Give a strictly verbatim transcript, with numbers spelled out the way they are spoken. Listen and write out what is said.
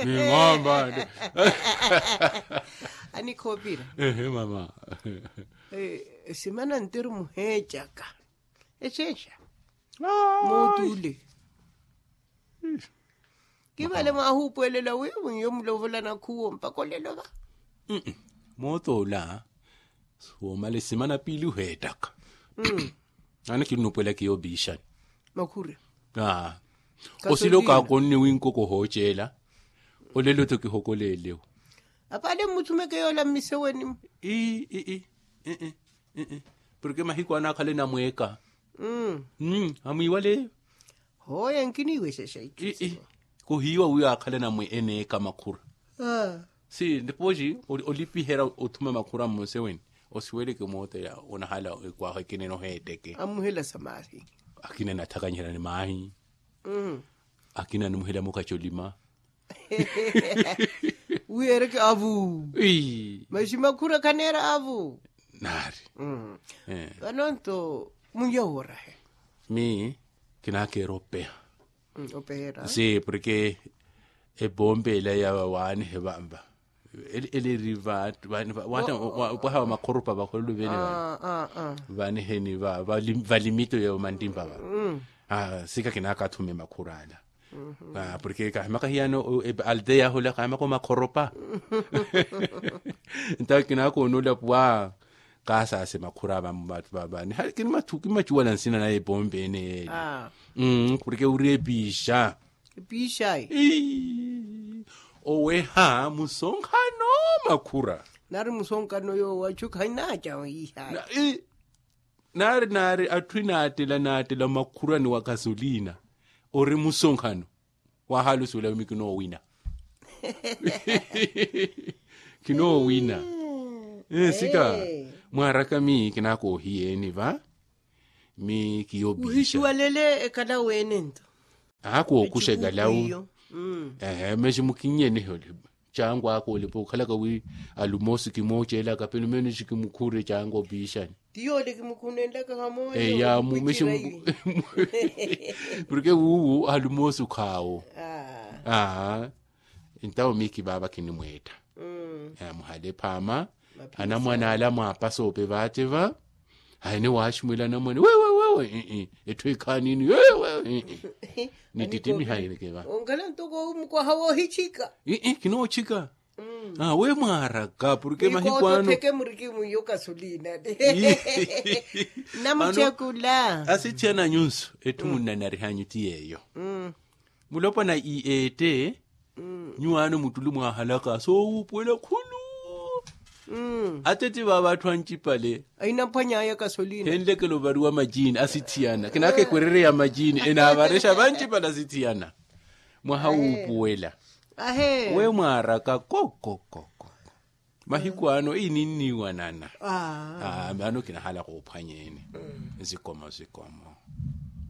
Ni ng'ombe. Anikhoopira. Ehe mama. Simana ntiru muheecaka. Exeexa. Moot'ule. Kivale mwaahuupuwelela wiiwi nyo mulovola nakhuwo mpaka olelo va. Moot'ula. Woomala esimana piili oheettaka. Aana kinnupwela kiyo opiixani. Makhura. Osila okaakonne winkoko ohooceela. Olelo-tho kihokoleelewo. Apaale mmuthumeke yoola mmiseweni. Ii ii. Porke mahiku anaakhala enamweeka. Amwiiwaleyo. Hooya nkiniiwexexa itthu. Kuhiiwa wiiwa akhala enamwe eneeka makhura. Si nipoxi olipiherya othuma makhura mmuseweni. Osiweleke moota ya onahala ekwaho ekinene oheetteke. Amuhela sa maahi. Akina enathakanyiherya ni maahi. Akina animuhela mukhaci olima. Wi ereke avu. Maxi makhura khaneera avu. Naari. Vano nto muya woorahe. Mi kinakeera opeha. Opeheera si porke epompe ela ya waanihe vanva. Ele eri opwaha wa makhoropa vakhololo vene vaniheni valimito ya omantimpa va. Sika kinakaathume makhura ala. Porke kahimaka hiyano aldeya ahula kahimaka omakhoropa. Ntawe kinakoonola pwa. Kaasase makhura vani hali kinimachuwala nsina naye epompe ene eli. Porke uri epiixa. Epiixayi. Oweha musonkhano makhura. Nari musonkhano yoowo achu khainaaca ohiihayi. Naari naari atthu enaattela naattela makhurani wa kasolina. Ori musonkhano. Waahalusuwela wimi kinoowina. Kinoowina. Sika mwaaraka mi kinakoohiyeeni va. Mi kiyo opiixa. Aakookuxa ekalawu. Ehe mexi mukinnyenihe olipa. Cangu aka olipa okhalaka wi alumoosi kimoocelaka pelo menos kimukhurre cangu opiixani. Tiyoole kimukhunenlaka hamoya. Eya mumexi. Porke wuuwu alumoosi okhaawo. Aa. Ntawo miiki vaava kinimweetta. Muhale phaama. Anamwane ala mwaapasa ope vaace va. Ayi niwaaximwela anamwane wewe wewe. Etthu ekhaanini wewe. Nitittimiha eneke va. Onkhala ntoko mukwaha woohichika. Kinoochika. We mwaaraka porke mahiku ano. Theke murikimwiyo kasulina. Namuchekula. Asithiyana nyunsu etthu munnanarihanyu ti yeeyo. Mulopwana i ete. Nyuwaano muttulu mwaahalaka soowuupuwela khulu. Ateti vaava atthu ancipale. Ahinaphwany'aya kasolina henlekela ovariwa majini asithiyana kinakekwerereya majini enaavarexa vancipale asithiyana. Mwaha wuupuwela. We mwaaraka kokokoko. Mahiku ano ininniwanana. Ano kinahala koophwanyeeni. Nzikomo nzikomo.